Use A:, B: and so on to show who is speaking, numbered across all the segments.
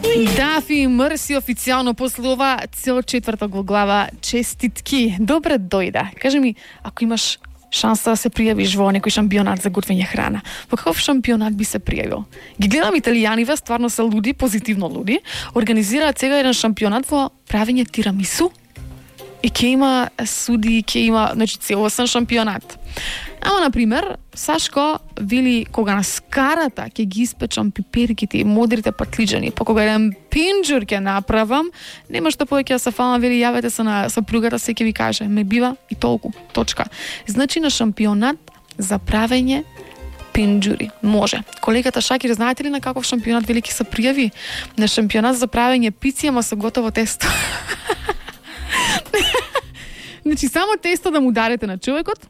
A: Дафи Мрси официјално после ова цел четврток во глава честитки. Добре дојде. Кажи ми, ако имаш шанса да се пријавиш во некој шампионат за готвење храна, во каков шампионат би се пријавил? Ги гледам италијаниве, стварно се луди, позитивно луди. Организираат сега еден шампионат во правење тирамису. И ќе има суди, ќе има, значи, целосен шампионат. Ама, например, Сашко вели, кога на скарата ќе ги испечам пиперките и модрите патлиџани, па кога еден пинџур ќе направам, нема што повеќе да се фалам, вели, јавете се на сопругата, се ќе ви каже, ме бива и толку, точка. Значи, на шампионат за правење пинџури. Може. Колегата Шакир, знаете ли на каков шампионат вели ќе се пријави? На шампионат за правење пици, ама со готово тесто. Значи, само тесто да му дарете на човекот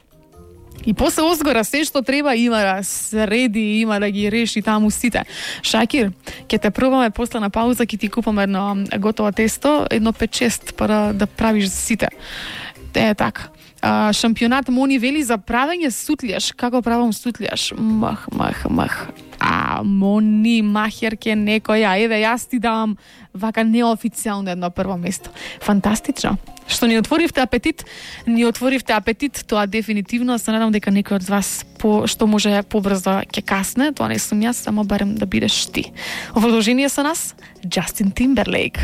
A: и после озгора се што треба има да среди, има да ги реши таму сите. Шакир, ќе те пробаме после на пауза, ќе ти купам едно готово тесто, едно 5-6 па да правиш за сите. Така. Шампионат Мони вели за правење сутлијаш. Како правам сутлијаш? Мах. Мони, махерке некоја. Еве, јас ти давам вака неофицијално едно прво место. Фантастично. Што ни отворивте апетит, тоа дефинитивно. Се надам дека некој од вас што може побрзо ќе касне. Тоа не сум јас, само барем да бидеш ти. Во продолжение со нас, Джастин Тимберлейк.